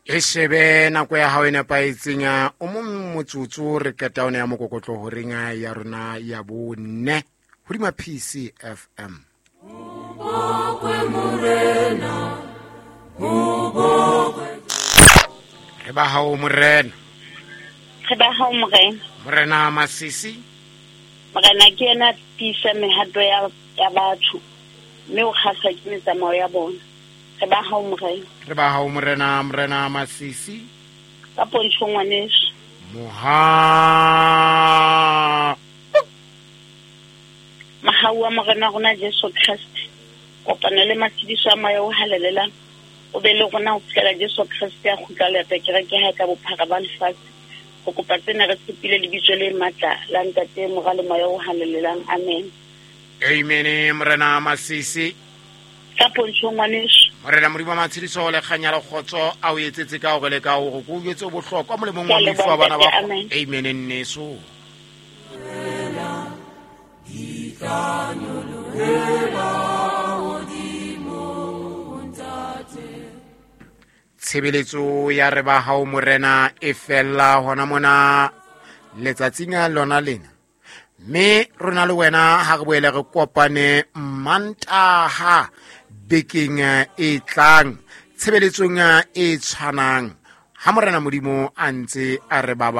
E shebe nako ya hao e nepahetseng, o mong motsotso re qeta one ya mokokotlo horeng ya rona ya bone hodima PCFM. Re ba hao morena. Re ba hao morena. Morena Masisi. Morena ke yena tiisa mehato ya ya batho mme o kgahlwa ke metsamao ya bona. Re ba hao morena. Re ba hao morena, morena Masisi. Ka pontsho ngwaneso. Moha. Mohau wa morena rona Jesu Kreste, kopano le matshediso a moya o halalelang o be le rona ho fihlela Jesu Kreste a kgutla leta kereke hae ka bophara ba lefatshe. Go kopa tsena re tshepile lebitso le matla la Ntate, Mora le Moya o halalelang. Amen. Amen. Morena Masisi. Ka pontsho ngwaneso. Morena Modimo wa matshediso le kganya le kgotso a o etsetse ka hore le ka hore ko o jwetse o bohlokwa molemong wa mofu wa bana ba. Amen nneso. Tshebeletso ya re ba hao morena e fella hona mona letsatsing lona lena, mme rona le wena ha re boele re kopane Mantaha bekeng e tlang tshebeletsong e tshwanang ha morena Modimo a ntse a re baba.